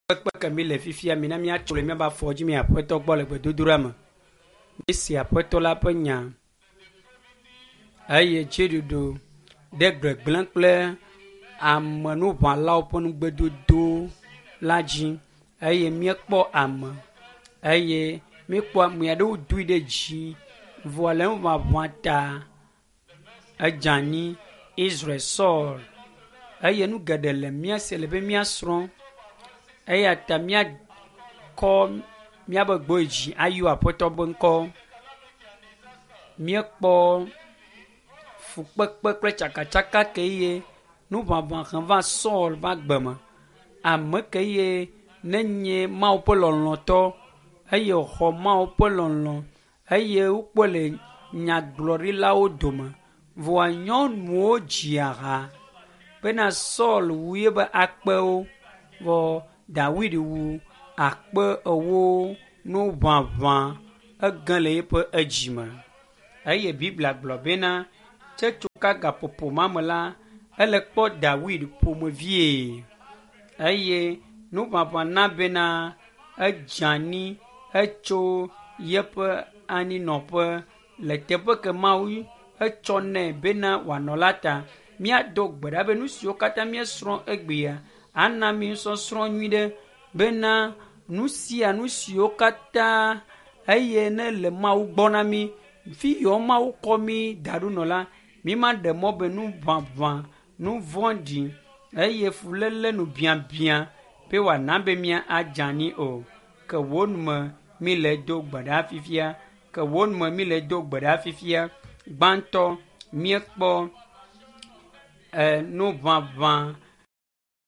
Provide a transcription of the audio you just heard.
Kpekpe ke mi le fifia mina míatso le míaƒe afɔ dzi mi aƒetɔ gbɔ le gbedodoɖa me. Míese aƒetɔ la ƒe nya eye dziɖuɖu ɖe gbegblẽ kple amenuʋãlawo ƒe nugbedodo la dzi eye míekpɔ ame eye míekpɔ ame aɖewo doe ɖe dzi vɔ le nuʋaʋã ta edze anyi Israel Saul eye nu geɖe le mía si le be míasrɔ̃ eya ta míakɔ míaƒe gbe dzi ayɔ aƒetɔ ƒe ŋkɔ. Míekpɔ fukpekpe kple tsakatsaka ke ye nuʋaʋã he va Saul ƒe agbe me. Ame ke ye nenye Mawu ƒe lɔlɔ̃tɔ eye wòxɔ Mawu ƒe lɔlɔ̃ eye wokpɔe le nyagblɔɖilawo dome. Vɔa nyɔnuwo dzia ha bena Saul wu yeƒe akpewo vɔ Dawid wu akpe ewo nuʋaʋã ege le eƒe edzime. Eye Biblia gblɔ bena tsetsoka gaƒoƒo ma me la, ele kpɔ Dawid ƒomevie eye nuʋaʋã na bena edze anyi hetso yeƒe anyinɔƒe le teƒe ke Mawu etsɔ nɛ bena wòanɔ la ta. Míado gbe ɖa be nu siwo katã míesrɔ̃ egbea ana mí nusɔsrɔ̃ nyui ɖe bena nu sia nu siwo katã eye ne le Mawu gbɔ na mí fi yiwo Mawu kɔ mí da ɖo nɔ la, mí ma ɖe mɔ be nu ʋaʋã, nu vɔ̃ɖi eye fuléle nu biabia be wòana be mía adze anyi o. Ke wò nume mí le do gbe ɖa fifia. Ke wò nume mí le do gbe ɖa fifia. Gbãtɔ míekpɔ e nuʋaʋã